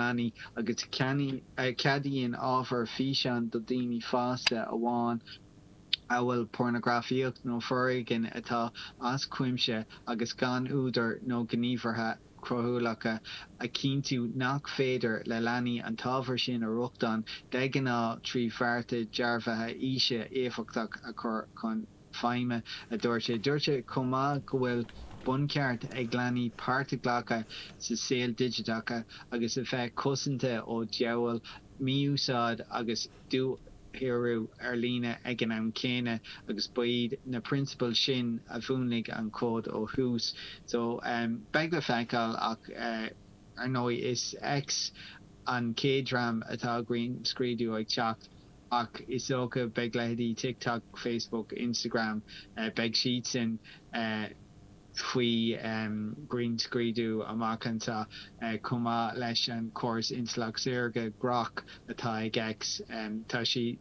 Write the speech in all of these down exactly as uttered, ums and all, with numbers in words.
leanaí agus a cheadaíonn ábhar físeán do dhaoine fásta amháin, amhail pornagrafaíocht nó foréigean atá as cuimse agus gan údar nó gníomhartha coiriúla a chinntiú nach féidir le leanaí an t-ábhar sin a rochtain de ghnáth trí bhearta dearbhaithe aoise éifeachtach a chur chun feidhme, a dúirt sé. Dúirt sé chomh maith go bhfuil buncheart ag leanaí páirt a ghlacadh sa saol digiteach agus a bheith cosanta ó dhiabhal, mí-úsáid agus dúshaothrú ar líne ag an am céanna agus ba iad na prionsabail sin a mhúnlaigh an cód ó thús. So beidh le feiceáil ach ar ndóigh is X an chéad dream atá grinnscrúdú ag teacht ach is dócha beidh leithéidí TikTok, Facebook, Instagram, beidh siadsan faoi ghrinnscrúdú amach anseo chomh maith leis an chóras intleacht saorga Grok atá ag X. Tá sé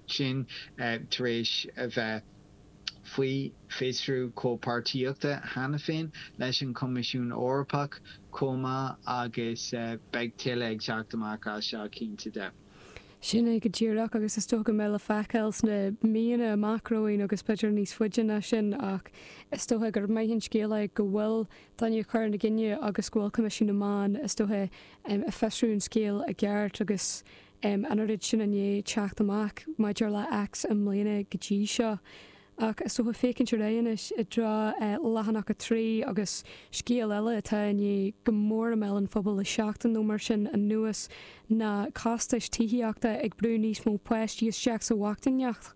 sin tar éis a bheith faoi fiosrú comhpháirtíochta cheana féin leis an Choimisiún Eorpach chomh maith agus beidh tuilleadh ag teacht amach as seo cinnte de. Sin é go díreach agus is dócha go mbeidh le feiceáil sna míonna amach romhainn agus b'fhéidir níos faide ná sin ach is dócha gur maith an scéal é go bhfuil daoine ag cur ina gcoinne agus go bhfuil Coimisiún na Meán is dócha ag fiosrú an scéal i gceart agus an oiread sin i ndiaidh teacht amach maidir le X i mbliana go dtí seo. Ach is dócha féachaint ar aghaidh anois i dtreo leathanach a trí agus scéal eile atá i ndiaidh go mór i mbéal an phobail le seachtain nó mar sin anuas ná costais tithíochta ag brú níos mó páistí isteach sa bhochtaineacht.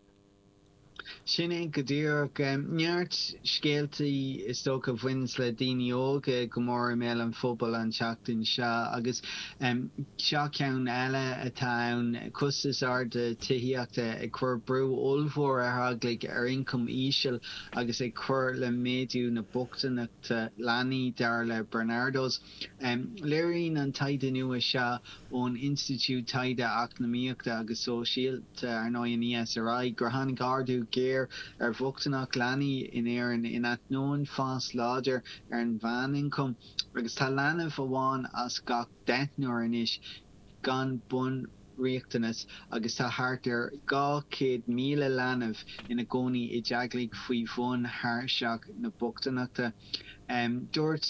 Sin é go díreach. Neart scéaltaí is dócha a bhaineanns le daoine óga go mór i mbéal an phobail an tseachtain seo agus seo ceann eile atá ann, costais arda tithíochta ag cur brú ollmhór ar theaghlaigh ar ioncam íseal agus ag cur le méadú na bochtaineachta leanaí, dar le Barnardos. Léiríonn an taighde nua seo ón Institiúid Taighde Eacnamaíochta agus Sóisialta, ar ndóigh an ESRI, gur tháinig ardú géar ar bhochtaineacht leanaí in Éirinn in ainneoin fás láidir ar an mheánioncam agus tá leanbh amháin as gach deichniúr anois gan bunriachtanais agus tá thart ar dhá chéad míle leanbh ina gcónaí i dteaghlaigh faoi bhun thairseach na bochtaineachta. Dúirt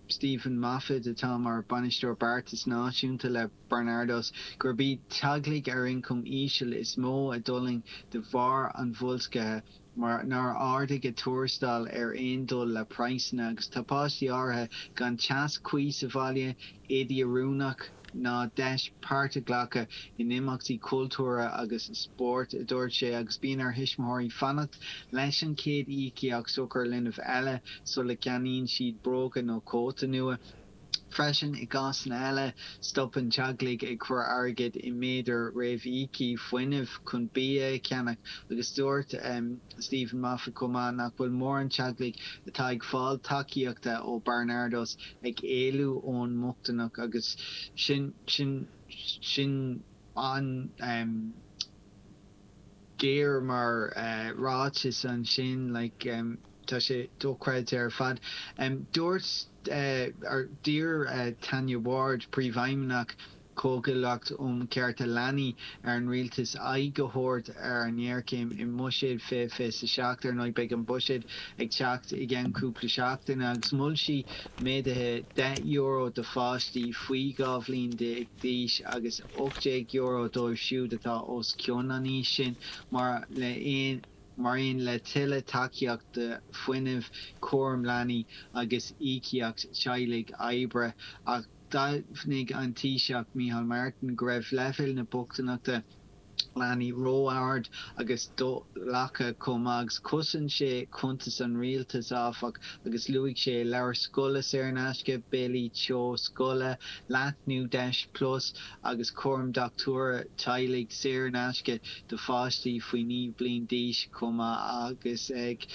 Stephen Moffitt, atá mar Bhainisteoir Beartais Náisiúnta le Barnardos, gurb iad teaghlaigh ar ioncam íseal is mó a d'fhulaing de bharr an bhoilscithe mar nár ardaigh a dtuarastail ar aon dul le praghsanna agus tá páistí áirithe gan teas cuí sa bhaile, éadaí oiriúnach ná deis páirt a ghlacadh in imeachtaí cultúrtha agus spóirt, a dúirt sé, agus bíonn ar thuismitheoirí fanacht leis an chéad íocaíocht sochar linbh eile sula gceannaíonn siad bróga nó cóta nua. Freisin, i gcásanna eile, stopann teaghlaigh ag cur airgid i méadair réamhíoctha fuinnimh chun bia a cheannach agus dúirt Stephen Moffitt chomh maith nach bhfuil mórán teaghlaigh atá ag fáil tacaíochta ó Barnardos ag éalú ón mbochtaineacht agus sin sin sin an géar mar ráiteas ansin like tá sé dochreidte ar fad. Dúirt or d'iarr Tanya Ward, Príomhfheidhmeannach Chomhghuaillíocht um Chearta Leanaí ar an rialtas aghaidh a thabhairt ar an ngéarchéim i mBuiséad fiche fiche a seacht. Ar ndóigh beidh an buiséad ag teacht i gceann cúpla seachtaine agus mhol sí méaduithe deich euro do pháistí faoi dhá bhliain déag d'aois agus ocht déag euro dóibh siúd atá os cionn an aois sin, mar le aon mar aon le tuilleadh tacaíocht do fuinneamh, cúram leanaí agus íocaíocht teaghlaigh oibre. Ach d'admhaigh an Taoiseach Micheál Martin go raibh leibhéil na bochtaineachta leanaí ró-ard agus do-ghlactha chomh maith agus chosain sé cuntais an rialtais, áfach, agus luaigh sé leabhair scoile saor in aisce, béilí teo scoile, leathnú Deis Plus agus cúram dochtúra teaghlaigh saor in aisce do pháistí faoi naoi bliain d'aois chomh maith agus ag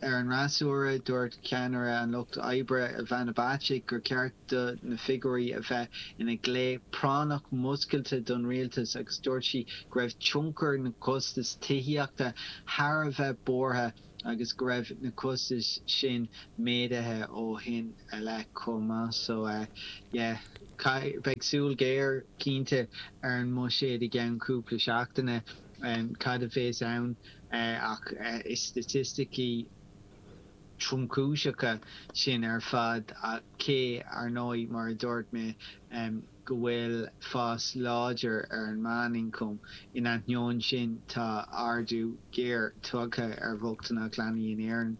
ar an fhreasúra, dúirt ceannaire an Lucht Oibre Ivana Bacik gur cheart do na figiúirí a bheith ina nglao práinneach múscailte don rialtas agus dúirt sí go raibh tionchar na gcostas tithíochta thar a bheith buartha agus go raibh na costais sin méadaithe ó shin i leith chomh maith. So yeah. Beidh súil ghéar cinnte ar an mbuiséad i gceann cúpla seachtaine cad a bheas ann ach is staitisticí tromchúiseacha sin ar fad cé, ar ndóigh, mar a dúirt mé, go bhfuil fás láidir ar an meánioncam. In ainneoin sin, tá ardú géar tagtha ar bhochtaineacht leanaí in Éirinn.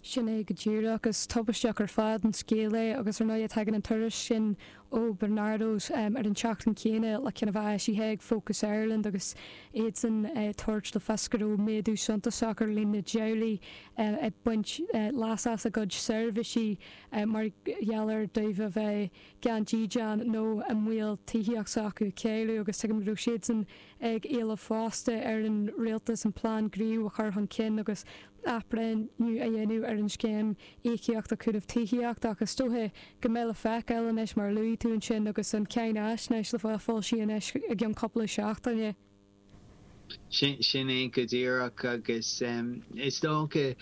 Sin é go díreach. Is tubaisteach ar fad an scéal é agus ar ndóigh tagann an tuairisc sin ó Barnardo's ar an tseachtain chéanna le ceann a bheith eisithe ag Focus Ireland agus iadsan ag tabhairt le fios go raibh méadú suntasach ar líon na dteaghlaigh ag baint leas as a gcuid seirbhísí mar gheall ar dóibh a bheith gan dídean nó i mbaol tithíocht s'acu a chailleadh agus tuigim go raibh siadsan ag éileamh fosta ar an rialtas an plean gníomh a chur chun cinn agus athbhreithniú a dhéanamh ar an scéim íocaíochta cúnaimh tithíochta ach is dóiche go mbeidh le feiceáil anois mar a luaigh tú ansin agus an cháinaisnéis le bheith foilsithe anois i gceann cúpla seachtaine. Sin é go díreach agus is dócha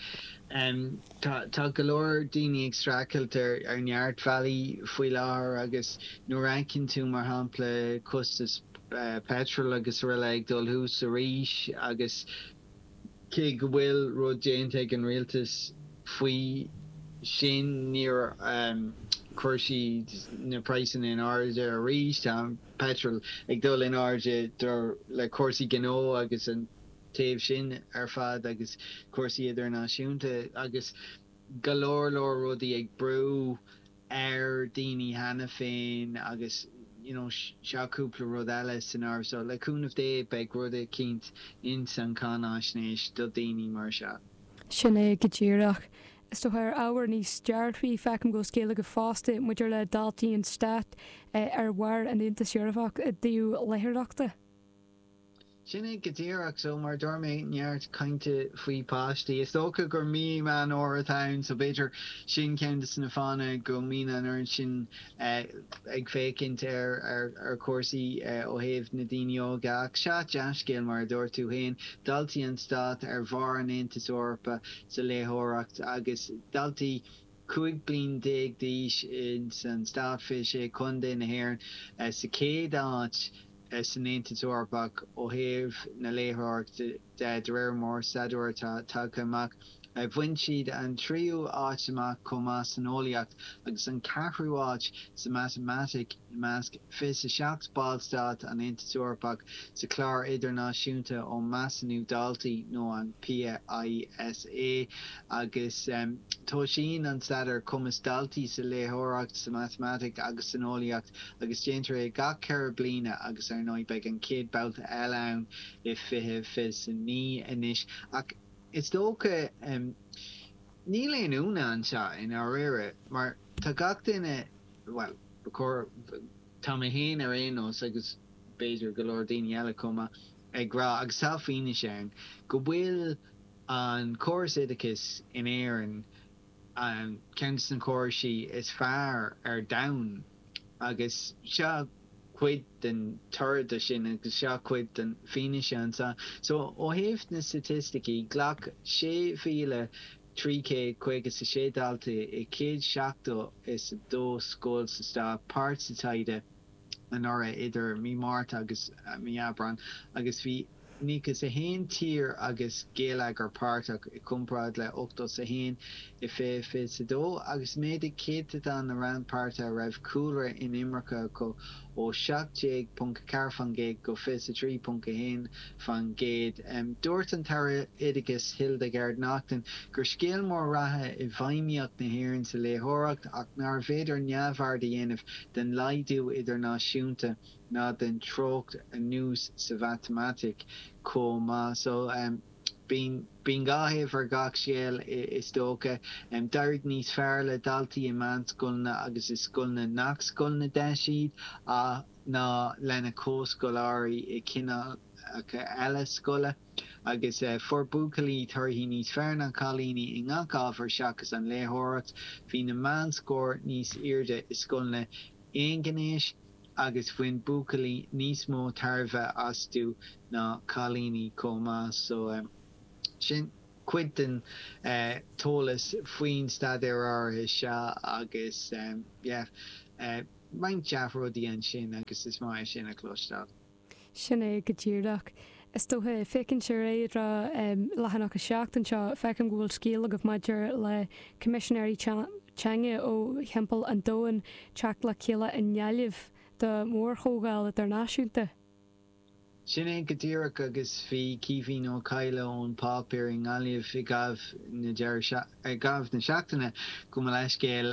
tá go leor daoine ag streachailt ar neart bealaí faoi láthair agus nuair a fheiceann tú mar shampla costas peitril agus araile ag dul thuas arís agus cé go bhfuil rud déanta ag an rialtas faoi sin, níor chuir siad na praghsanna in airde arís. Tá an peitreal ag dul in airde le cúrsaí gnó agus an taobh sin ar fad agus cúrsaí idirnáisiúnta agus go leor leor rudaí ag brú ar daoine cheana féin agus you know seo cúpla rud eile san áireamh so le cúnamh Dé beidh rud eicínt ins an cháinaisnéis do daoine mar seo. Sin é go díreach. Is dócha ar ábhar níos dearfaí, feicim go bhfuil scéal agat fosta maidir le daltaí an stáit ar bharr an Aontais Eorpach i dtaobh léitheoireachta. Sin é go díreach. So, mar a dúirt mé, neart cainte faoi páistí. Is dócha gur mí Meán Fhómhair atá ann, so b'fhéidir sin ceann de na fáthanna go mbíonn an oiread sin ag féachaint ar ar chúrsaí ó thaobh na daoine óga. Ach sea, dea-scéal, mar a dúirt tú féin, daltaí an stáit ar bharr an Aontais Eorpaigh sa léitheoireacht agus daltaí cúig bliain déag d'aois ins an stát, fiche sé contae na hÉireann, sa chéad áit. san Aontas Eorpach ó thaobh na léitheoireachta de, de réir mórstaidéir atá tagtha amach. Bhain siad an tríú áit amach chomh maith san eolaíocht agus an ceathrú áit sa mhatamaitic i measc fiche a seacht ballstát an Aontais Eorpach sa Chlár Idirnáisiúnta um Measúnú Daltaí nó an PISA agus tomhaiseann an staidéar cumas daltaí sa léitheoireacht, sa mhatamaitic agus san eolaíocht agus déantar é gach ceithre bliana agus ar ndóigh beidh an chéad babhta eile ann i fiche fiche a naoi anois. Ach is dócha, níl aon ionadh anseo i ndáiríre mar tá gach duine, bhuel, ba chóir, tá mé féin ar aon nós agus b'fhéidir go leor daoine eile chomh maith, ag rá, agus tá fianaise ann, go bhfuil an córas oideachais in Éirinn, ceann de na córaisí is fearr ar domhan agus seo cuid den toradh de sin agus seo cuid den fianaise anseo. So ó thaobh na staitisticí, ghlac sé mhíle trí chéad caoga is a sé dalta i céad seachtó is a dó scoil sa stát páirt sa taighde anuraidh idir mí Márta agus mí Aibreáin agus bhí nócha is a haon tír agus geilleagar páirteach, i gcomparáid le ochtó is a haon i fiche fiche a dó, agus mhéadaigh céatadán na rannpháirtithe a raibh cúlra inimirce acu ó seacht déag ponc a ceathair faoin gcéad go fiche a trí ponc a haon faoin gcéad. Dúirt an tAire Oideachais Hildegarde Naughton gur scéal mór ratha í feidhmíocht na hÉireann sa léitheoireacht ach nárbh fhéidir neamhaird a dhéanamh den laghdú idirnáisiúnta ná den treocht anuas sa mhatamaitic chomh maith. So, bíonn, bíonn dhá thaobh ar gach scéal, is dócha. D'éirigh níos fearr le daltaí i meánscoileanna agus i scoileanna nach scoileanna deis iad ná lena gcomhscoláirí i gcineálacha eile scoile. Agus fuair buachaillí torthaí níos fearr ná cailíní i ngach ábhar seachas an léitheoireacht. Bhí na meánscóir níos airde i scoileanna aonghnéis agus bhain buachaillí níos mó tairbhe astu ná cailíní chomh maith. So sin cuid den t-eolas faoin staidéar áirithe seo agus yeah roinnt dea-rudaí ansin agus is maith é sin a chloisteáil. Sin é go díreach. Is dócha, féachaint ar aghaidh go leathanach a seacht anseo, feicim go bhfuil scéal agaibh maidir le Coimisinéirí Teanga ó thimpeall an domhain teacht le chéile i nGaillimh do mhórchomhdháil idirnáisiúnta. Sin é go díreach agus bhí Caoimhín Ó Cadhla ón Páipéar i nGaillimh i gcaitheamh na i gcaitheamh na seachtaine, gabh mo leithscéal,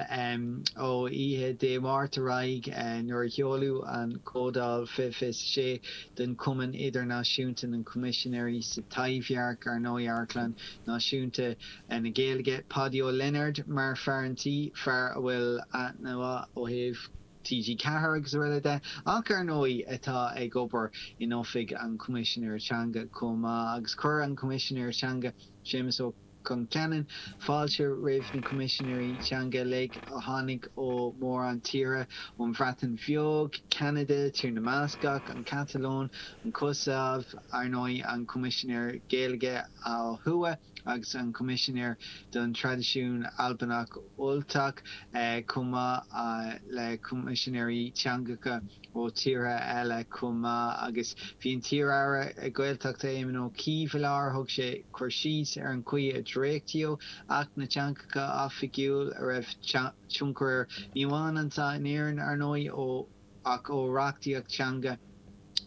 ó oíche Dé Máirt ar aghaidh nuair a sheoladh an Chomhdháil fiche fiche sé den Chumann Idirnáisiúnta na gCoimisinéirí sa Taibhdhearc, ar ndóigh Amharclann Náisiúnta na Gaeilge, Páidí Ó Lionáird mar fear an tí, fear a bhfuil aithne mhaith ó thaobh T G ceathair agus araile de, ach ar ndóigh atá ag obair in Oifig an Choimisinéara Teanga chomh maith agus chuir an Coimisinéir Teanga, Séamus Ó Concheanainn, fáilte roimh na Coimisinéirí Teanga uilig a tháinig ó mhórán tíortha, ón Bhreatain Bheag, Ceanada, Tír na mBascach, an Chatalóin, an Chosaiv, ar ndóigh an Coimisinéir Gaeilge ó thuaidh. agus an Coimisinéir don Traidisiún Albanach Ultach, chomh maith le Coimisinéirí Teangacha ó tíortha eile chomh maith. Agus bhí an t-iar-aire Gaeltachta Éamon Ó Cuív i láthair. Thug sé cur síos ar an chaoi a dréachtaíodh Acht na dTeangacha Oifigiúil, a raibh tionchar air ní amháin anseo in Éirinn, ar ndóigh, ó ach ó reachtaíocht teanga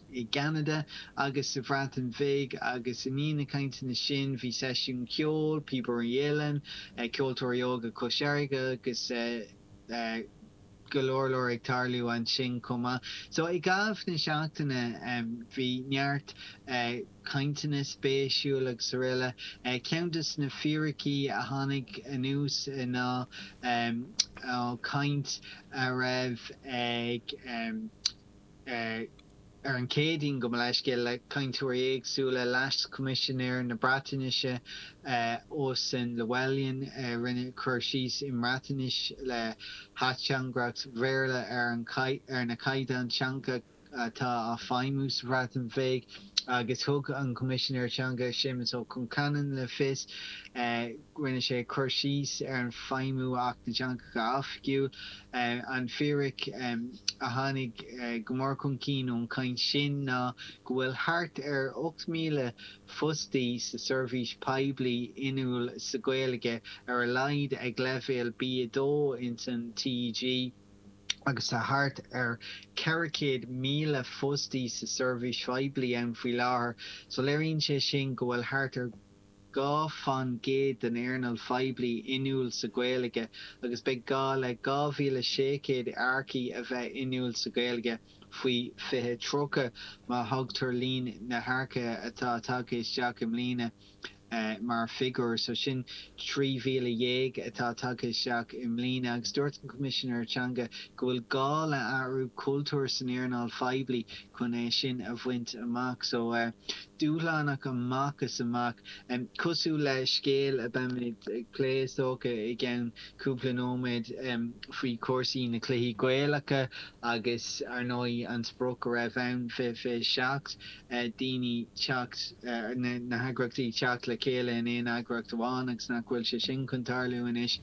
i gCeanada agus sa Bhreatain Bhig agus i ndiaidh na cainteanna sin bhí seisiún ceoil, Píobairí Uilleann, Ceoltóirí Óga Chois Fharraige agus go leor leor ag tarlú ansin chomh maith. So i gcaitheamh na seachtaine bhí neart cainteanna spéisiúil agus araile. Ceann de na fíricí a tháinig anuas ná ó chaint a raibh ag ar an Chéadaoin, gabh mo leithscéal, le cainteoirí éagsúla, Leas-Choimisinéir na Breatnaise, Osian Llywelyn, rinne cur síos i mBreatnais le hateangaireacht Bhéarla ar ar na caighdeáin teanga atá á feidhmiú sa Bhreatain Bheag agus thug an Coimisinéir Teanga Séamus Ó Concheanainn le fios rinne sé cur síos ar an feidhmiú Acht na dTeangacha Oifigiúil. An fíric a tháinig go mór chun cinn ón chaint sin ná go bhfuil thart ar ocht míle fostaí sa seirbhís poiblí inniúil sa Ghaeilge ar a laghad ag leibhéal B a dó ins an T E G agus tá thart ar ceithre chéad míle fostaí sa seirbhís phoiblí ann faoi láthair. So léiríonn sé sin go bhfuil thart ar dhá faoin gcéad den earnáil phoiblí inniúil sa Ghaeilge agus beidh gá le dhá mhíle sé chéad earcaí a bheith inniúil sa Ghaeilge faoi fiche tríocha má thógtar líon na hearcaithe atá tagtha isteach i mbliana mar figiúr. So sin trí mhíle dhéag atá tagtha isteach i mbliana agus dúirt an Coimisinéir Teanga go bhfuil gá le athrú cultúir san earnáil phoiblí chun é sin a bhaint amach. So dúshlánach amach is amach. Cosúil le scéal a beimid ag plé is dócha i gceann cúpla nóiméad faoi chúrsaí na cluichí Gaelacha agus ar ndóigh an sprioc a raibh ann fiche fiche seacht daoine teacht, na heagraíochtaí teacht le chéile in aon eagraíocht amháin agus nach bhfuil sé sin chun tarlú anois.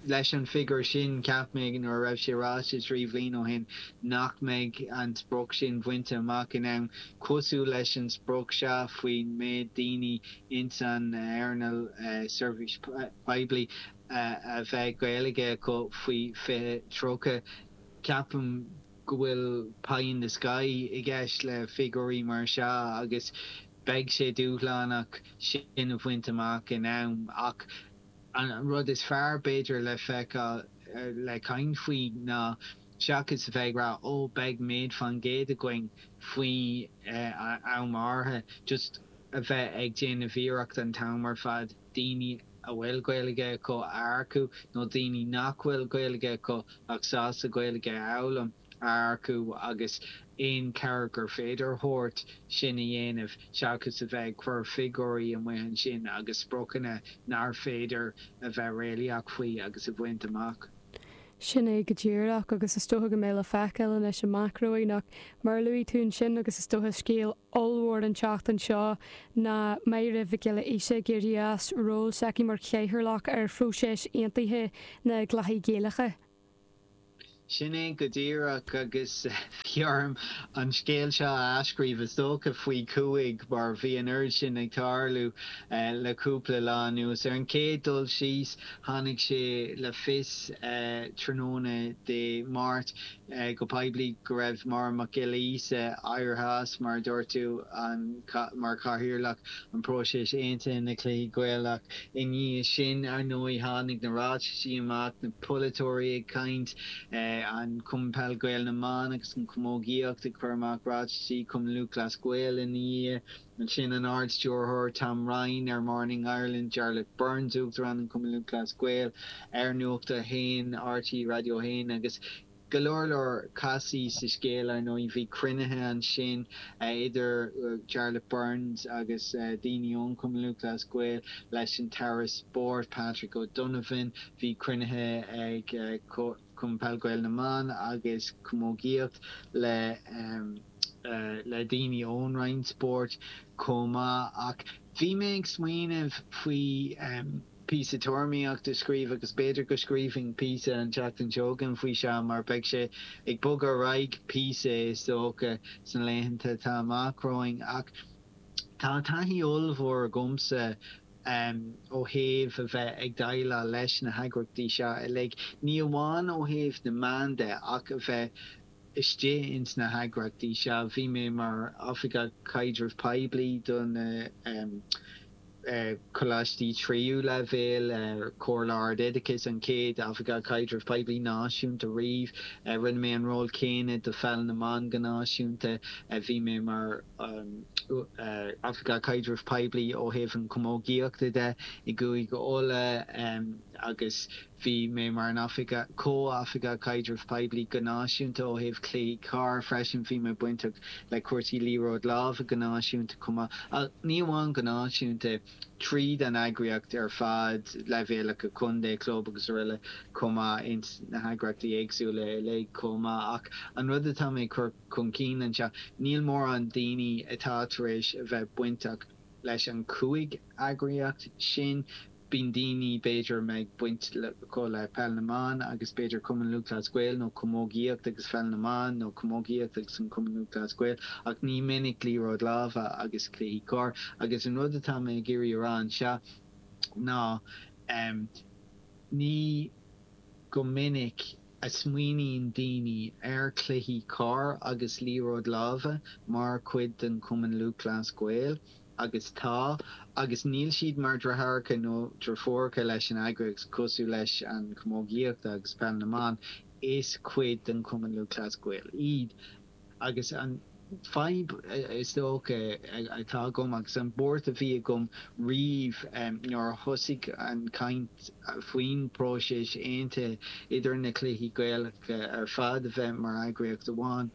Leis an figiúr sin, cheap mé nuair a raibh sé ráite trí bhliain ó shin nach mbeidh an sprioc sin bainte amach in am, cosúil leis an sprioc seo faoin méid daoine ins an earnáil seirbhís poiblí a bheidh Gaeilge acu faoi fiche tríocha. Ceapaim go bhfuil pie in the sky i gceist le figiúirí mar seo agus beidh sé dúshlánach sin a bhaint amach in am ach an rud is fearr b'fhéidir le feiceáil le caint faoi ná seachas a bheith ag rá ó beidh méid faoin gcéad againn faoi am áirithe just a bheith ag déanamh iarracht an t-am ar fad daoine a bhfuil Gaeilge acu a earcú nó daoine nach bhfuil Gaeilge acu ach sásta Gaeilge a fhoghlaim a earcú agus aon chabhair gur féidir a thabhairt sin a dhéanamh seachas a bheith ag cur figiúirí amuigh ansin agus spriocanna nár féidir a bheith réalaíoch faoi agus a bhaint amach. Sin é go díreach agus is dócha go mbeidh le feiceáil anois amach romhainn ach mar a luaigh tú ansin agus is dócha scéal ollmhór an tseachtain seo ná Máire Mhic Giolla Íosa ag éirí as ról s'aici mar chathaoirleach ar phróiseas aontaithe na gCluichí Gaelacha. Sin é go díreach agus bhí orm an scéal seo a athscríobh is dócha faoi cúig mar bhí an oiread sin ag tarlú le cúpla lá anuas. Ar an chéad dul síos, tháinig sé le fios tráthnóna Dé Máirt go poiblí go raibh Máire Mac Giolla Íosa éirithe as, mar a dúirt tú, mar chathaoirleach an próiseas aontaithe na gCluichí Gaelach. I ndiaidh sin, ar ndóigh, tháinig na ráitisí amach, na polaiteoirí ag caint, an Cumann Peil Gael na mBan agus an Chamógaíocht ag cur amach ráitisí, Cumann Lúthchleas Gael ina dhiaidh, ansin an Ard-Stiúrthóir Tom Ryan ar Morning Ireland, Jarlath Burns, Uachtarán an Chumainn Lúthchleas Gael ar Nuacht a hAon, RTÉ Raidió a hAon agus go leor leor casaí sa scéal ar ndóigh. Bhí cruinnithe ansin idir Jarlath Burns agus daoine ón Chumann Lúthchleas Gael leis an tAire Spóirt Patrick O'Donovan, bhí cruinnithe ag Cumann Peil Gael na mBan agus Camógaíocht le le daoine ón Roinn Spóirt chomh maith ach bhí mé ag smaoineamh faoi píosa tuairimíochta a scríobh agus b'fhéidir go scríobhfainn píosa an tseachtain seo chugainn faoi seo mar beidh sé ag bogadh ar aghaidh píosa is dócha sna laethanta atá amach romhainn ach tá taithí ollmhór agamsa ó thaobh a bheith ag déileáil leis na heagraíochtaí seo uilig, ní amháin ó thaobh na meán de ach a bheith istigh ins na heagraíochtaí seo. Bhí mé mar Oifigeach Caidrimh Poiblí do na coláistí tríú leibhéal, Comhairle Ard-Oideachais, an chéad Oifigeach Caidrimh Poiblí náisiúnta riamh. Rinne mé an ról céanna do Pheil na mBan go náisiúnta. Bhí mé mar Oifigeach Caidrimh Poiblí ó thaobh an chamógaíochta de i gCúige Uladh agus bhí mé mar an oifigeach, comh-oifigeach caidrimh poiblí go náisiúnta ó thaobh cluichí corr freisin. Bhí mé bainteach le cúrsaí liathróid láimhe go náisiúnta chomh maith. Ach ní amháin go náisiúnta, tríd an eagraíocht ar fad, leibhéalacha contae, club agus araile chomh maith ins na heagraíochtaí éagsúla uilig chomh maith. Ach an rud atá mé ag cur chun cinn anseo, níl mórán daoine atá tar éis a bheith bainteach leis an cúig eagraíocht sin. Bíonn daoine, b'fhéidir, a mbeidh baint acu le Peil na mBan agus b'fhéidir Cumann Lúthchleas Gael nó Camógaíocht agus Pheil na mBan nó Camógaíocht agus an Cumann Lúthchleas Gael ach ní minic liathróid láimhe agus cluichí corr. Agus an rud atá mé ag iarraidh a rá anseo ná ní go minic a smaoiníonn daoine ar chluichí corr agus liathróid láimhe mar chuid den Chumann Lúthchleas Gael, agus tá, agus níl siad mar dheartháireacha nó deirfiúracha leis an eagraíocht cosúil leis an chamógaíocht agus Peil na mBan, is cuid den Chumann Lúthchleas Gael iad. Agus an fadhb is dócha atá agam agus an buairt a bhí agam riamh nuair a thosaigh an chaint faoin bpróiseas aontaithe idir na cluichí Gaelacha ar fad a bheith mar eagraíocht amháin,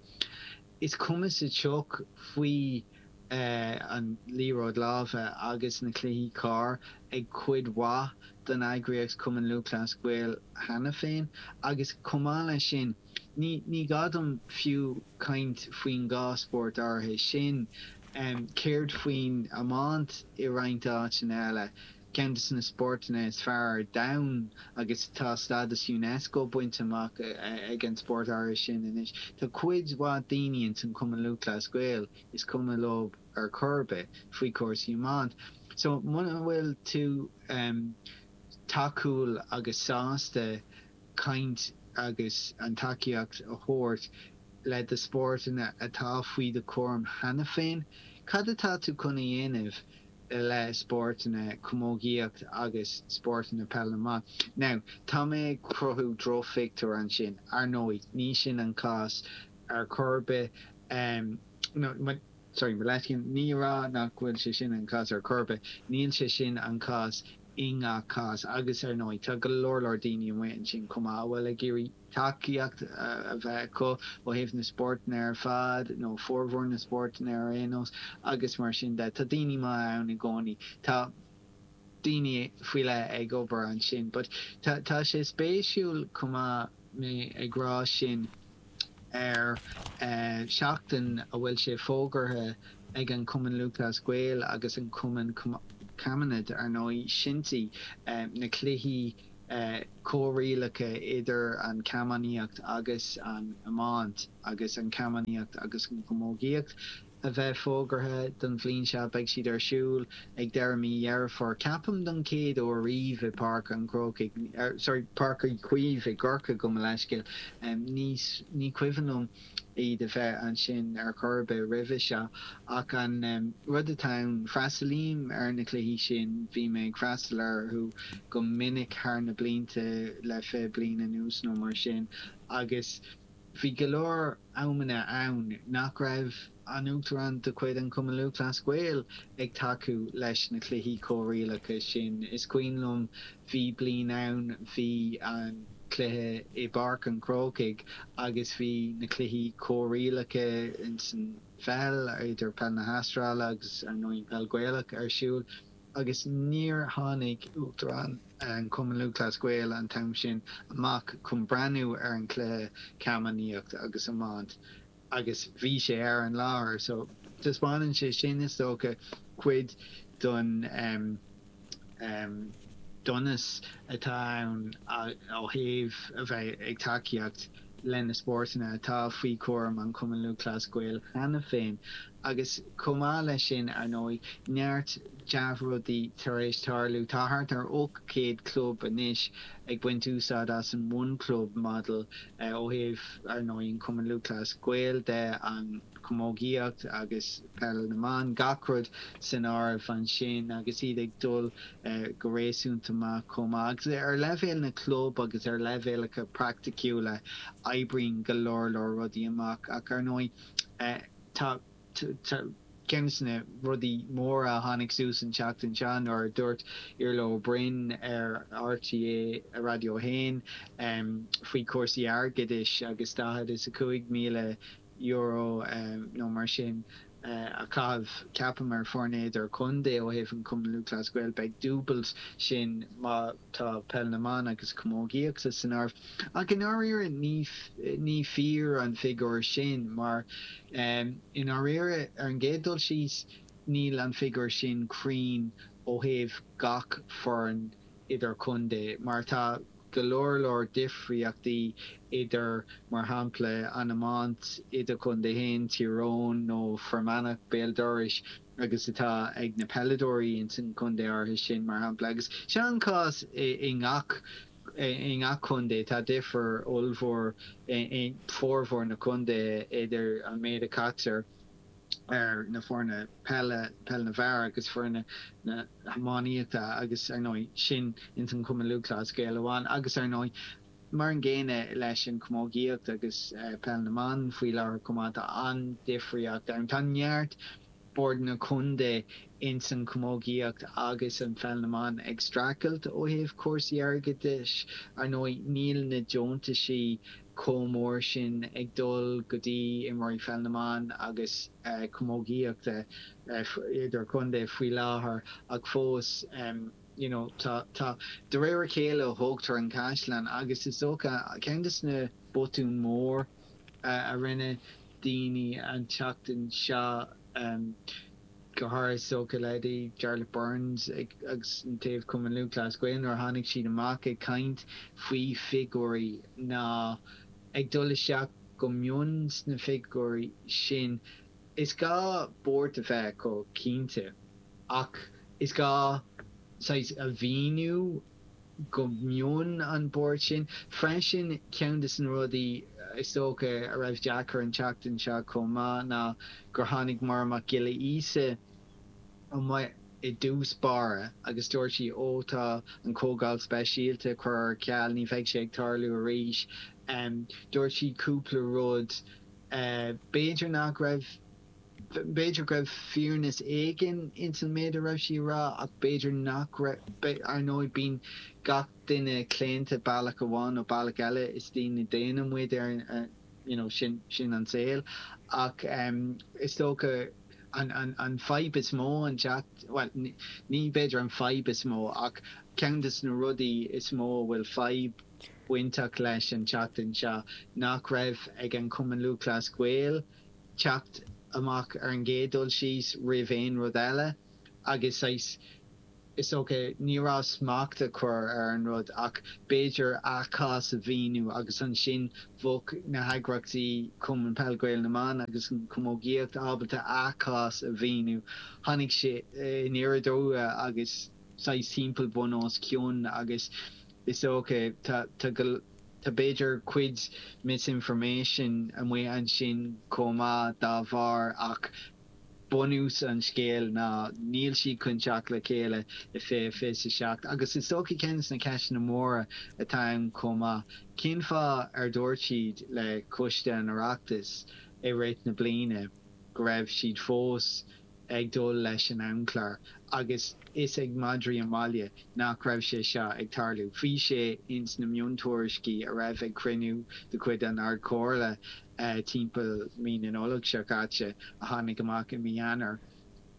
is cuma sa tsioc faoi an liathróid láimhe agus na cluichí corr ag cuid mhaith den eagraíocht Cumann Lúthchleas Gael cheana féin agus chomh maith leis sin, Ní ní gá dom fiú caint faoin dhá spórt áirithe sin. Céard faoin iomáint i roinnt áiteanna eile? Ceann de na spórtanna is fearr ar domhan agus tá stádas Unesco bainte amach ag an spórt áirithe sin anois. Tá cuid mhaith daoine ins an Cumann Lúthchleas Gael is cuma leo ar chor ar bith faoi chúrsaí iomáint. So muna bhfuil tú tacúil agus sásta caint agus an tacaíocht a thabhairt le do spórtanna atá faoi do chúram cheana féin, cad atá tú chun a dhéanamh le spórtanna camógaíocht agus spórtanna peil na mban? Now, tá mé ag cruthú drochphictiúr ansin, ar ndóigh, ní sin an cás ar chor ar bith. No, sorry, mo leithscéal, ní a rá nach bhfuil sé sin an cás ar chor ar bith, níl sé sin an cás i ngach cás agus ar ndóigh tá go leor leor daoine amuigh ansin chomh maith a bhfuil ag iarraidh tacaíocht a bheith acu ó thaobh na spórtanna ar fad nó formhór na spórtanna ar aon nós agus mar sin de. Tá daoine maithe ann i gcónaí. Tá daoine faoi leith ag obair ansin but tá tá sé spéisiúil chomh maith mé ag rá sin ar seachtain a bhfuil sé fógartha ag an Cumann Lúthchleas Gael agus an Cumann Camanachd, ar ndóigh, Shinty, na cluichí comhrialacha idir an chamógaíocht agus an iomáint agus an chamógaíocht agus an chamógaíocht a bheith fógartha don bhliain seo beidh siad ar siúl ag deireadh mí Dheireadh Fómhair. Ceapaim don chéad uair riamh i Páirc an Chrócaigh, sorry, Páirc Uí Chaoimh i gCorcaigh gabh mo leithscéal. Ní ní cuimhin liom iad a bheith ansin ar chor ar bith roimhe seo ach an rud atá ann, freastalaím ar na cluichí sin, bhí mé ag freastal orthu go minic thar na blianta le fiche bliain anuas nó mar sin agus bhí go leor amanna ann nach raibh an Uachtarán de chuid an Chumann Lúthchleas Gael ag tacú leis na cluichí comhrialacha sin. Is cuimhin liom bhí bliain ann bhí an cluiche i bPáirc an Chrócaigh agus bhí na cluichí comhrialacha insan pheil idir peil na hAstráile agus ar ndóigh peil Gaelach ar siúl agus níor tháinig Uachtarán an Chumann Lúthchleas Gael an t-am sin amach chun breathnú ar an chluiche camógaíocht agus iomáint agus bhí sé ar an láthair so taispeánann sé sin is dócha cuid don um, um, donas atá ann ó thaobh a bheith ag tacaíocht le na spórtanna atá faoi chúram an Chumann Lúthchleas Gael cheana féin agus chomh maith leis sin ar ndóigh neart dea-rudaí tar éis tarlú. Tá thart ar ocht chéad club anois ag baint úsáid as an One Club model ó thaobh ar ndóigh an Cumann Lúthchleas Gael de an chamógaíocht agus peil na mban gach rud san áireamh ansin agus iad ag dul go réasúnta maith chomh maith. Agus ar leibhéal na club agus ar leibhéalacha praiticiúla oibríonn go leor leor rudaí amach ach ar ndóigh tá ceann de na rudaí móra a tháinig suas an tseachtain seo nuair a dúirt Iarla Ó Broin ar RTÉ Raidió a haon faoi chúrsaí airgeadais agus daichead is a cúig míle euro nó mar sin a chaitheamh ceapaim ar foirne idirchontae ó thaobh an Chumann Lúthchleas Gael beidh dúbailt sin má tá peil na mban agus camógaíocht san áireamh. Ach i ndáiríre ní ní fíor an figiúr sin mar i ndáiríre ar an gcéad dul síos níl an figiúr sin cruinn ó thaobh gach foireann idirchontae mar tá go leor leor difríochtaí idir mar shampla an iomáint idirchontae féin Tír Eoghain nó Fear Manach Béal Dorais agus atá ag na peileadóirí ins an chontae áirithe sin mar shampla agus seo an cás i ngach i ngach contae tá difear ollmhór i formhór na contaetha idir an méid a chaitear ar na foirne peile, peil na bhfear agus foirne na hiománaíochta agus ar ndóigh sin ins an Chumann Lúthchleas Gael amháin agus ar ndóigh mar an gcéanna leis an chamógaíocht agus peil na mban faoi láthair chomh maith tá an-difríocht ann. Tá neart boird contae ins an chamógaíocht agus an pheil na mban ag streachailt ó thaobh cúrsaí airgeadais ar ndóigh níl na deontaisí chomh mór sin ag dul go dtí imreoirí pheil na mban agus camógaíochta idirchontae faoi láthair ach fós you know tá tá de réir a chéile a thógtar an caisleán agus is dócha ceann de na botúin mór a rinne daoine an tseachtain seo go háirithe is dócha leithéidí Jarlath Burns agus an taobh Cumann Lúthchleas Gael nuair a tháinig siad amach ag caint faoi figiúirí ná ag dul isteach go mion sna figiúirí sin. Is gá buairt a bheith acu cinnte ach is gá saghas a mhíniú go mion an buairt sin. Freisin ceann de na rudaí is dócha a raibh deacair an tseachtain seo chomh maith ná gur tháinig Máire Mac Giolla Íosa amuigh i dtús báire agus dúirt sí ó tá an comhdháil speisialta curtha ar ceal ní bheidh sé ag tarlú arís. Um, dúirt sí cúpla rud uh, b'fhéidir nach raibh b'fhéidir go raibh fírinne éigin ins an méid a raibh sí rá ach b'fhéidir nach ar ndóigh bíonn gach duine claonta bealach amháin nó bealach eile is daoine daonna muid ar uh, you know, sin sin an saol ach um, is dócha an, an, an fadhb is mó an teacht well, ní b'fhéidir an fadhb is mó ach ceann de na rudaí is mó bhfuil fadhb bainteach leis an tseachtain seo nach raibh ag an Cumann Lúthchleas Gael teacht amach ar an gcéad dul síos roimh aon rud eile agus Is dócha ní raibh smacht a chur ar an rud ach b'fhéidir a cás a mhíniú agus ansin bheadh na heagraíochtaí Cumann Peil Gael na mBan agus an Chamógaíocht ábalta a cás a mhíniú. Tháinig sé aniar aduaidh agus saghas timpeall bun os cionn agus is dócha tá tá go tá b'fhéidir cuid misinformation amuigh ansin chomh maith dá bharr ach bunús an scéil ná níl siad chun teacht le chéile i fiche fiche a seacht agus is dócha ceann de na ceisteanna móra atá ann chomh maith, cén fáth ar dúirt siad le Coiste an Oireachtais i rith na bliana go raibh siad fós ag dul leis an amchlár agus is ag madraí an bhaile nach raibh sé seo ag tarlú. Bhí sé ins na miontuairiscí a raibh ag cruinniú de chuid an Ard-Chomhairle timpeall mí na Nollag seo caite a tháinig amach i mí Eanáir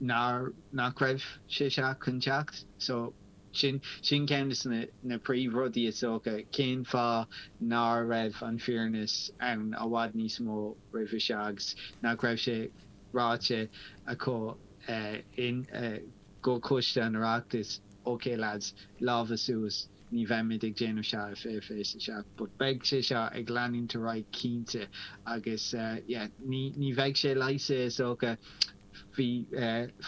nár nach raibh sé seo chun teacht. So sin sin ceann de na na príomhrudaí is dócha, cén fáth nár raibh an fírinne ann i bhfad níos mó roimhe seo agus nach raibh sé ráite acu in go Coiste an Oireachtais, ok lads, lámha suas, ní bheimid ag déanamh seo i fiche fiche a seacht. But beidh sé seo ag leanúint ar aghaidh cinnte agus yeah ní ní bheidh sé leigheasaithe is dócha faoi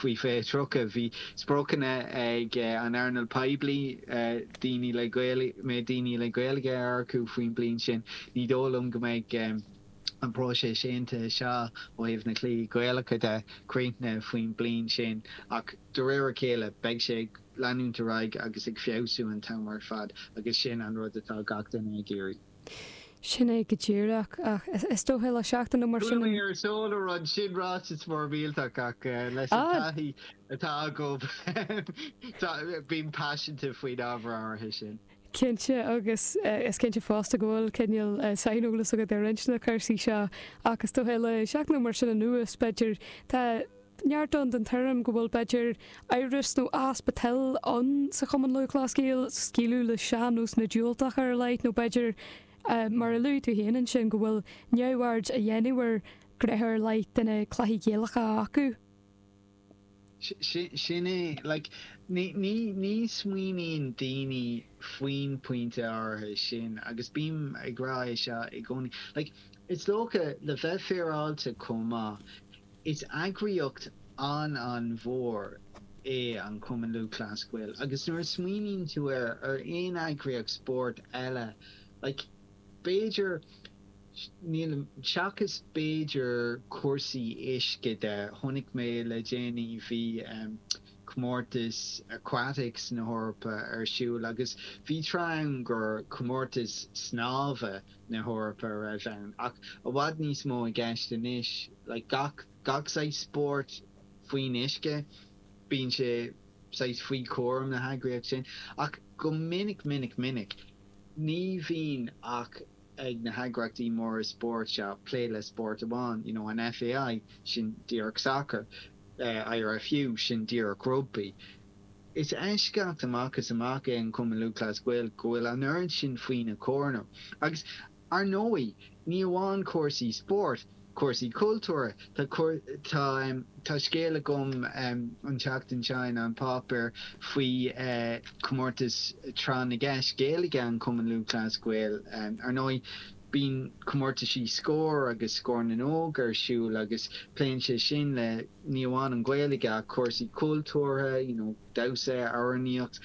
faoi fiche tríocha. Bhí spriocanna ag an earnáil poiblí daoine le Gaeilge mbeidh daoine le Gaeilge a earcú faoin bliain sin. Ní dóigh liom go mbeidh an próiseas aontaithe seo ó thaobh na cluichí Gaelacha de críochnaithe faoin bliain sin ach de réir a chéile beidh sé ag leanúint ar aghaidh agus ag feabhsú an t-am ar fad agus sin an rud atá gach duine ag iarraidh. Sin é go díreach ach is dócha le seachtain nó mar sin. Chuala mé ar seoladh rud sin ráiteas mór millteach ach leis an taithí atá agam bím paiseanta faoin ábhar áirithe sin. Cinnte, agus is cinnte fosta go bhfuil cineál saineolas agat ar roinnt de na cúrsaí seo ach is dócha le seachtain nó mar sin anuas, b'fhéidir, tá neart ann den tuairim go bhfuil b'fhéidir amhras nó easpa toil ann sa Chumann Lúthchleas Gael scaoileadh le sean-nósanna diúltacha ar a laghad nó b'fhéidir, mar a luaigh tú féin ansin, go bhfuil neamhaird á dhéanamh ar ghnéithe ar leith de na cluichí Gaelacha acu. Sin é, like, ní, ní, ní smaoiníonn daoine faoin pointe áirithe sin agus bím ag rá é seo i gcónaí. Like, is dócha, le bheith féaráilte chomh maith, is eagraíocht an-an-mhór é an Cumann Lúthchleas Gael agus nuair a smaoiníonn tú air, ar aon eagraíocht spóirt eile, like, b'fhéidir, Nílim, seachas b'fhéidir cúrsaí uisce de, chonaic mé le déanaí bhí comórtas aquatics na hEorpa ar siúl agus bhí tráth ann gur comórtas snámha na hEorpa a raibh ann ach i bhfad níos mó i gceist anois, like gach, gach saghas spórt faoin uisce, bíonn sé saghas faoi chúram na heagraíocht sin ach go minic, minic, minic ní bhíonn ach ag na heagraíochtaí móra spóirt seo plé le spórt amháin, you know, an FAI, sin díreach sacar, IRFU, sin díreach rugbaí. Is eisceacht amach is amach é an Cumann Lúthchleas Gael go bhfuil an oiread sin faoina chúram. Agus, ar ndóigh, ní amháin cúrsaí spóirt, cúrsaí cultúrtha. Tá tá tá scéal agam an tseachtain seo in An Páipéar faoi chomórtas Tráth na gCeist Gaeilge an Chumainn Lúthchleas Gael. Ar ndóigh, bíonn comórtaisí Scór agus Scór na nÓg ar siúl agus pléann sé sin le ní amháin an Ghaeilge ach cúrsaí cultúrtha, you know, damhsa, amhránaíocht,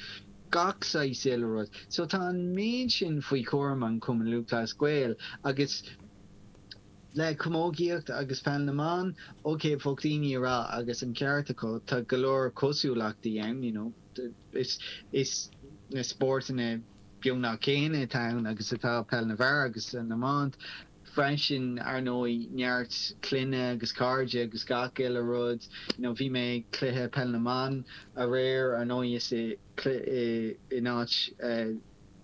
gach saghas uile rud. So tá an méid sin faoi chúram an Chumainn Lúthchleas Gael agus Le camógaíocht agus peil na mban, ok, bheadh daoine ag rá, agus an ceart acu, tá go leor cosúlachtaí ann, you know, is, is na spórtanna beagnach céanna atá ann agus atá peil na bhfear agus na mban freisin, ar ndóigh, neart clainne agus cairde agus gach uile rud, you know, bhí mé ag cluiche peil na mban aréir, ar ndóigh, is i, i, in áit eh,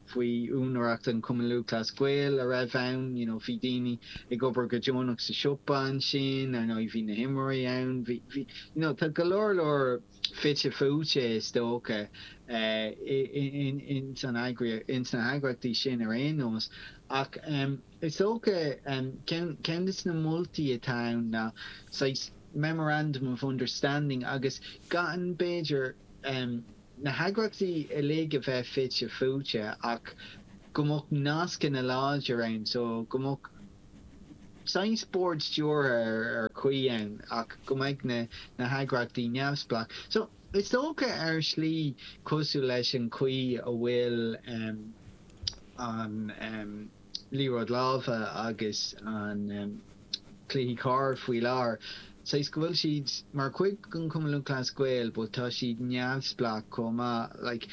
faoi úinéireacht an Chumann Lúthchleas Gael a raibh ann, you know bhí daoine ag obair go deonach sa siopa ansin, ar ndóigh bhí na himreoirí ann, bhí, bhí, you know tá go leor leor fite fuaite is dócha eh in, in, san eagraíocht, ins na heagraíochtaí sin ar aon nós. Ach em is dócha em ceann, ceann de na moltaí atá ann ná saghas memorandum of understanding agus gan b'fhéidir em na heagraíochtaí uilig a bheith fite fuaite ach go mbeadh nascanna láidir ann so go mbeadh saghas bord stiúrtha ar ar chaoi ann ach go mbeadh na na heagraíochtaí neamhspleách. So is dócha ar shlí cosúil leis an chaoi a bhfuil um, an um, liathróid láimhe agus an um, cluichí corr faoi láthair. Saghas go bhfuil siad mar chuid den Chumann Lúthchleas Gael but tá siad neamhspleách chomh maith. Like,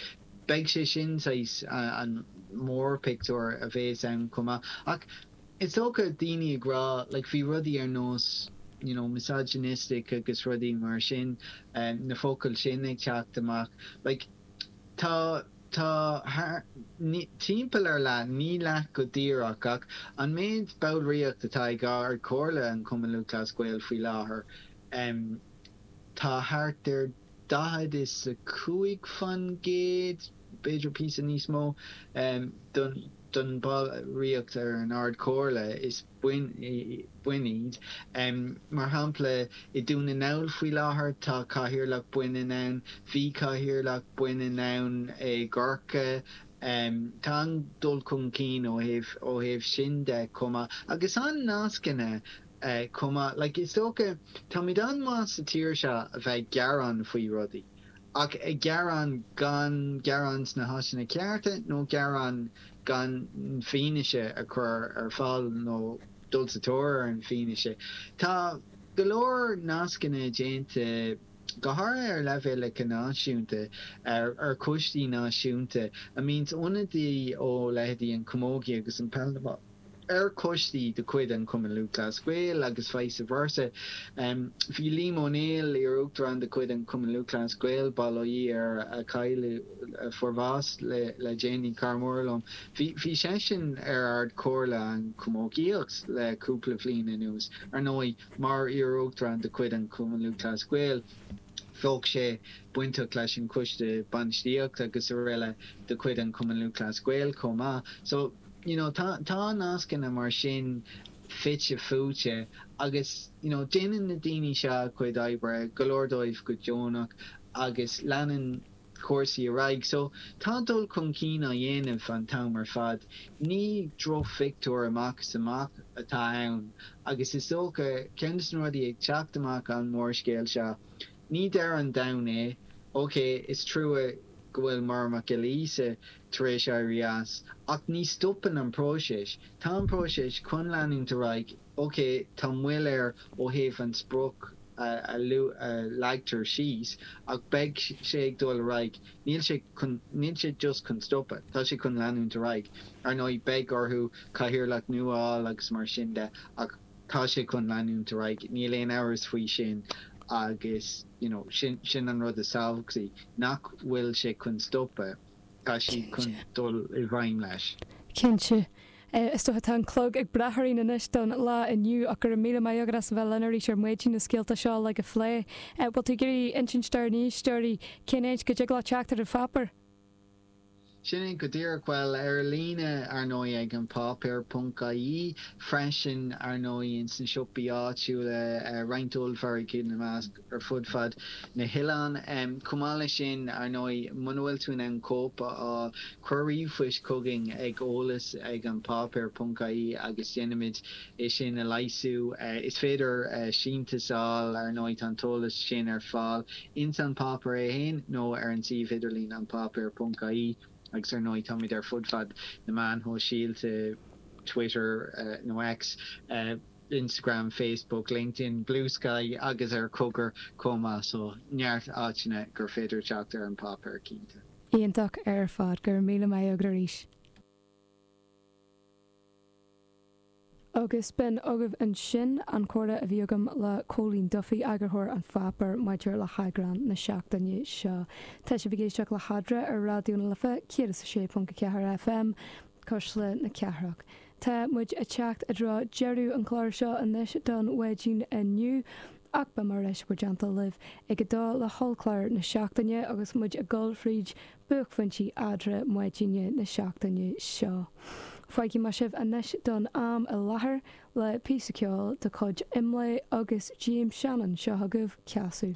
beidh sé sin saghas an mórphictiúr a bheas ann chomh maith. Ach is dócha daoine ag rá like, bhí rudaí ar nós you know, misogynistic agus rudaí mar sin um, na focail sin ag teacht amach. Like, tá tá thar, ní, timpeall ar leath, ní leath go díreach ach an méid ballraíocht atá ag Ard-Chomhairle an Chumann Lúthchleas Gael faoi láthair, um, tá thart ar daichead is a cúig faoin gcéad, b'fhéidir píosa níos mó, um, don, don bhallraíocht ar an Ard-Chomhairle is boinn iad. Mar shampla, i Dún na nGall faoi láthair tá cathaoirleach baineann ann, bhí cathaoirleach baineann ann i gCorcaigh. Tá an-dul chun cinn ó thaobh ó thaobh sin de chomh maith. Agus an-nascanna chomh maith. Like is dócha, táimid an-mhaith sa tír seo a bheith ag gearán faoi rudaí. Ach ag gearán gan gearán sna háiteanna cearta nó gearán gan fianaise a chur ar fáil nó dul sa tóir ar an bhfianaise. Tá go leor nascanna déanta, go háirithe ar leibhéal náisiúnta, ar ar choistí náisiúnta, a mbíonn ionadaí ó leithéidí an chamógaí agus an peil na mban ar choistí de chuid an Chumann Lúthchleas Gael agus vice versa. Bhí Liam Ó Néill, iar-uachtarán de chuid an Chumann Lúthchleas Gael, bail ó Dhia air, a cailleadh, a fuair bás le déanaí, cara mór liom, bhí seisean ar Ard-Chomhairle an Chamógaíocht le cúpla bliain anuas. Ar ndóigh, mar iar-uachtarán de chuid an Chumann Lúthchleas Gael, bheadh sé bainteach leis an choiste bainistíochta agus araile de chuid an Chumann Lúthchleas Gael chomh maith. So, you know, tá tá nascanna mar sin fite fuaite agus, you know, déanann na daoine seo a gcuid oibre, go leor dóibh go deonach agus leanann cúrsaí ar aghaidh. So, tá dul chun cinn á dhéanamh an t-am ar fad. Ní drochphictiúr amach is amach atá ann agus is dócha, ceann de na rudaí ag teacht amach an mórscéal seo, ní deireadh an domhain é. Ok, is trua go bhfuil Máire Mac Giolla Íosa tar éis éirí as, ach ní stopann an próiseas. Tá an próiseas chun leanúint ar aghaidh. Ok, tá moill air ó thaobh an sprioc a leagtar síos, ach beidh sé ag dul ar aghaidh. Níl sé chun, níl sé just chun stopadh, tá sé chun leanúint ar aghaidh. Ar ndóigh, beidh orthu cathaoirleach nua a fháil agus mar sin de, ach tá sé chun leanúint ar aghaidh, níl aon amhras faoi sin agus you know sin sin an rud is tábhachtaí, nach bhfuil sé chun stopadh, tá sé chun dul i bhfeidhm leis. Cinnte. Is dócha tá an clog ag brath orainn anois don lá inniu ach go raibh míle maith agat as a bheith linn arís ar maidin na scéalta seo uilig a phlé. Bhfuil tú ag iarraidh insint dár n-éisteoirí cén áit go dtig leo teacht ar an pháipéar? Sin é go díreach. Bhuel, ar líne, ar ndóigh, ag an páipéar ponc ie, freisin, ar ndóigh, ins na siopaí áitiúla, roinnt ollmhargaí ina measc, ar fud fad na hoileáin. Chomh maith leis sin, ar ndóigh, muna bhfuil tú in ann cóip a fháil, cuir ríomhphost chugainn ag eolas ag an páipéar ponc ie agus déanfaimid é sin a leigheasú. Is féidir síntiús a fháil, ar ndóigh, tá an t-eolas sin ar fáil ins an páipéar é féin nó ar an suíomh idirlín an páipéar ponc ie agus ar ndóigh táimid ar fud fad na meáin shóisialta, Twitter nó X, Instagram, Facebook, LinkedIn, Bluesky agus ar Cogar chomh maith so neart áiteanna gur féidir teacht ar an páipéar cinnte. Iontach ar fad, go raibh míle maith agat arís. Agus b'in agaibh ansin an comhrá a bhí agam le Cóilín Duffy, eagarthóir An Pháipéir, maidir le heagrán na seachtaine seo. Tá sibh ag éisteacht le hEadra ar Raidió na Life, céad is a sé ponc a ceathair FM, Cuisle na Cathrach. Tá muid ag teacht i dtreo deireadh an chláir seo anois don mhaidin inniu, ach beidh mé ar ais i bhur dteannta libh ag a dó le hollchlár na seachtaine agus muid ag dul fríd buaicphointí eadra maidine na seachtaine seo. Fágfaidh mé sibh anois don am i láthair le píosa ceoil de chuid Imlé agus James Shannon, seo chugaibh, Casadh.